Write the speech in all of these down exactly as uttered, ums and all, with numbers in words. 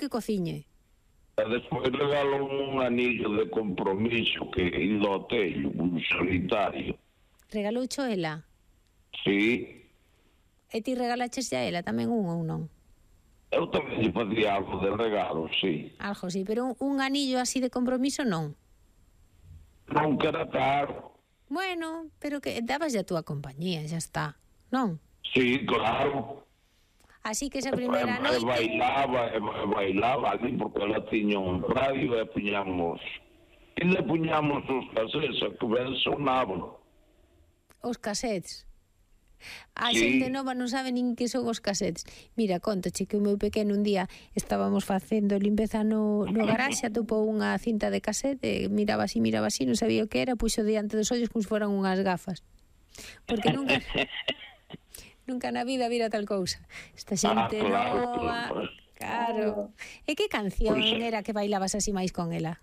que cociñe. E despois regalo un anillo de compromiso que ido ao tello, un solitario. Regaloucho ela? Sí. E ti regalaches a ela tamén un ou non? Eu tamén lle facía algo de regalo, sí. Algo, sí, pero un, un anillo así de compromiso non? Non que era caro. Bueno, pero que dabas a túa compañía, xa está, non? Sí, claro. Así que esa primeira e, noite... E bailaba, e bailaba ali, porque ela tiña un radio e puñamos... E le puñamos os casetes, que ben sonaban. Os casetes? A Sí. xente nova non sabe nin que son os casetes. Mira, contoche que o meu pequeno un día estábamos facendo limpeza no, no garaxe, atopou unha cinta de casete, miraba así, miraba así, non sabía o que era, puxo diante dos ollos como se foran unhas gafas. Porque nunca... Nunca na vida vira tal cousa. Esta xente ah, claro, nova... claro. Claro. E que canción Pois, era que bailabas así máis con ela?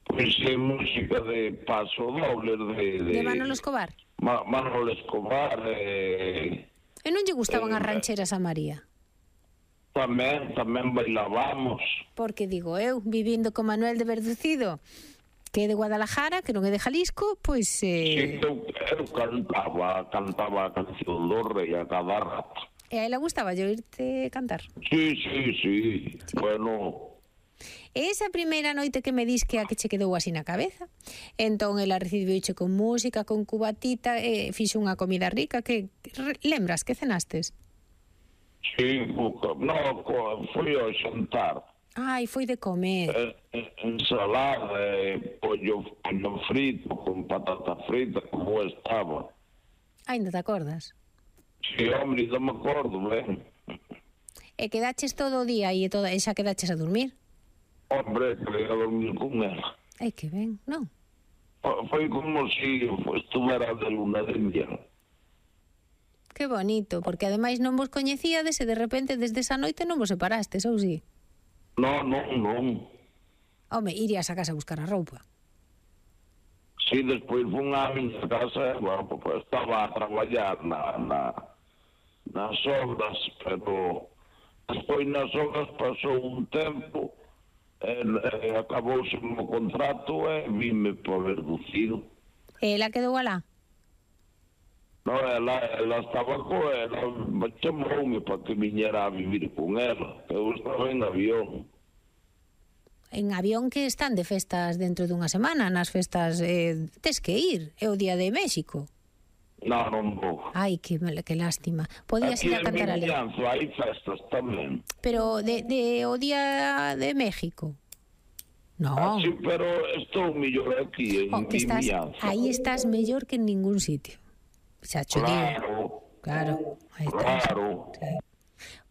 Pois é música de Paso Doble de... De, de Manolo Escobar? Ma, Manolo Escobar e... E non lle gustaban eh, as rancheras a María? Tamén, tamén bailábamos. Porque digo eu, vivindo con Manuel de Verducido, que é de Guadalajara, que non é de Jalisco, pois... Eh... Sí, eu, eu cantaba, cantaba a canción do rei a cada rato. E a ela gustaba yo irte cantar? Sí, sí, sí, sí. Bueno... E esa primeira noite que me dis que a que che quedou así na cabeza, entón ela recibiuche con música, con cubatita, e fixo unha comida rica, que lembras que cenastes? Sí, no, foi ao xantar. Ai, foi de comer. Eh, ensalada, eh, pollo, pollo frito, con patata frita, como estaba. Ainda te acordas? Sí, hombre, non me acordo, ben. E quedaches todo o día e, toda, e xa quedaches a dormir? Hombre, que a dormir con ela. Ai, que ben, non? Foi como se estuvera de luna de miel. Que bonito, porque ademais non vos coñecíades e de repente desde esa noite non vos separastes, ou si? Non, non, non. Home, irías a casa a buscar a roupa. Sí, despois fun á miña casa, bueno, pues, estaba a traballar na, na, nas obras, pero despois nas obras pasou un tempo, e, e acabouse o meu contrato e vime por Verducido. E ela quedou alá? No, ela, ela estaba co ela, chamoume para que viñera a vivir con ela. Eu estaba en avión. En avión que están de festas dentro dunha semana, nas festas eh, tes que ir, é o Día de México. Non, non vou. Ai, que, que lástima. Podías ir a cantar ali. Aquí en Vimianzo hai festas tamén. Pero de, de o Día de México? No. Ah, sí, pero estou mellor aquí, en oh, que estás, Vimianzo. aí estás mellor que en ningún sitio. Xa cho digo. Claro. Claro. Aí estás. Claro. Sí.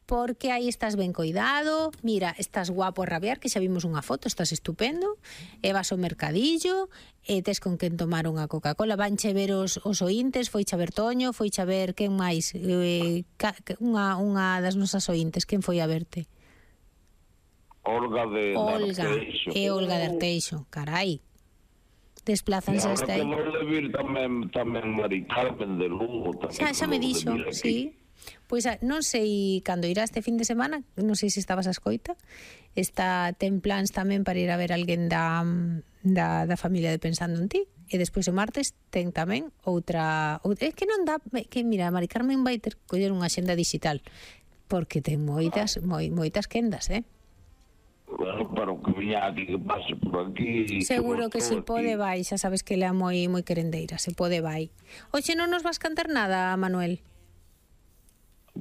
Porque aí estás ben coidado, mira, estás guapo a rabiar, que xa vimos unha foto, estás estupendo, e vas ao mercadillo, e tes con quen tomar unha Coca-Cola, vanche ver os, os ointes, foiche a ver Toño, foiche a ver quen máis, eh, ca, unha, unha das nosas ointes, quen foi a verte? Olga de Olga, Arteixo. e Olga de Arteixo, carai. Desplázanse hasta aí. E agora que de vir tamén, tamén Mari Carmen de Lugo. Xa, xa me dixo, sí. Pois non sei cando irá este fin de semana, non sei se estabas a escoita, está ten plans tamén para ir a ver alguén da, da, da familia de Pensando en Ti, e despois o martes ten tamén outra, outra é que non dá, que mira, Mari Carmen vai ter coller unha xenda digital, porque ten moitas, moi, moitas quendas, eh? Bueno, pero que viña aquí, que pase por aquí. Seguro que, que si pode vai, xa sabes que ela é moi moi querendeira, se pode vai. Oxe, non nos vas cantar nada, Manuel?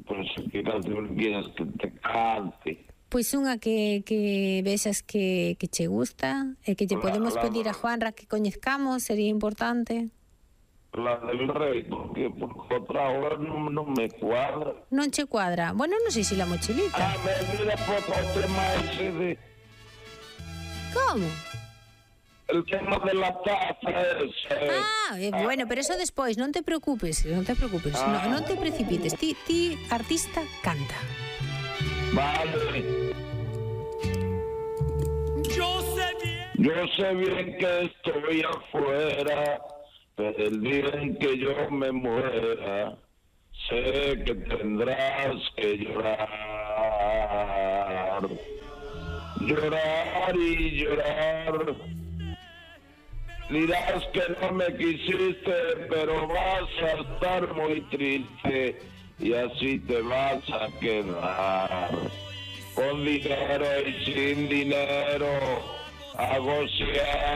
Pois que canción quieres que te cante? Pois unha que, que vexas que, que che gusta e que lle podemos la, la, pedir a Juanra que coñezcamos, sería importante. La del rei, porque, porque outra hora non, non me cuadra. Non che cuadra? Bueno, non sei se la mochilita. Ah, me mira foto o tema ese de... Como? El tema de la taza ese. Ah, eh, bueno, pero eso despois, non te preocupes, non te preocupes, ah. non, non te precipites. Ti, ti, artista, canta. Vale. Yo sé bien. Yo sé bien que estoy afuera, pero el día en que yo me muera, sé que tendrás que llorar. llorar y llorar. Dirás que no me quisiste, pero vas a estar muy triste y así te vas a quedar. Con dinero y sin dinero, a gocear.